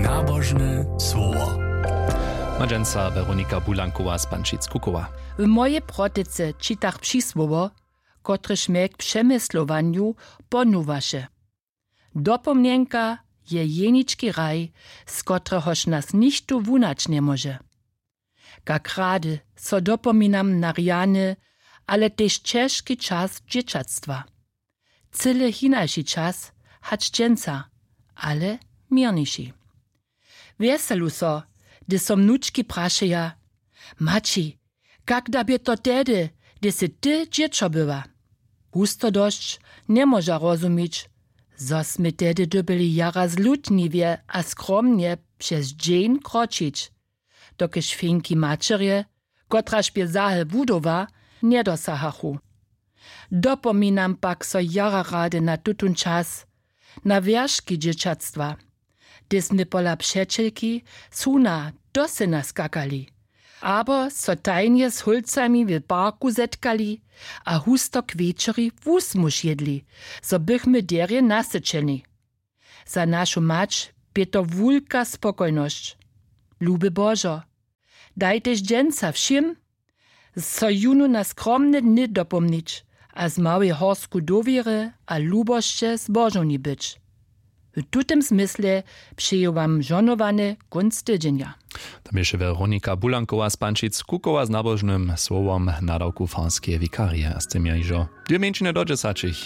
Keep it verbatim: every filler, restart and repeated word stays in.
Nabožne słowo. Ma dźensa Weronika Bulankowa z Pančic-Kukowa. W mojej protyce čitach přisłowo, kotrež mje k přemyslowanju ponuwaše. Dopomnjenka je jenički hraj, z kotrehož nas nichtó wunać njemóže. Kak rady so dopominam na rjany, ale tež ćežki čas dźěćatstwa. Cyle hinaši čas hač dźensa, ale měrniši. Wjeselu so, hdy so mnučki prašeja: Maći, kak da bě to tehdy, hdy sy ty dźěćo była? Husto dosć njemóža rozumić, zo smy tehdy dyrbjeli jara zlutniwje a skromnje přez dźeń kročić, dokelž fenki maćerje, kotraž bě zahe wudowa, njedosahachu. Dopominam pak so jara rady na tutón čas, na wjerški dźěćatstwa, hdy smy pola přećelki suna do syna skakali, abo so tajnje z hólcami w parku zetkali a husto k wječori wusmuž jědli, zo bychmy derje nasyćeni. Za našu mać bě to wulka spokojnosć. Luby Božo, daj tež dźensa wšěm, so jónu na skromne dny dopomnić a z małej horsku dowěry a lubosće zbožowni być. W tutym zmysle přeju wam žohnowany kónc tydźenja. To běše Weronika Bulankowa z Pančic-Kukowa z nabožnym słowom nadawku farskeje wikarije. A z tym ja hižo dwě mjeńšiny do dźesaćich.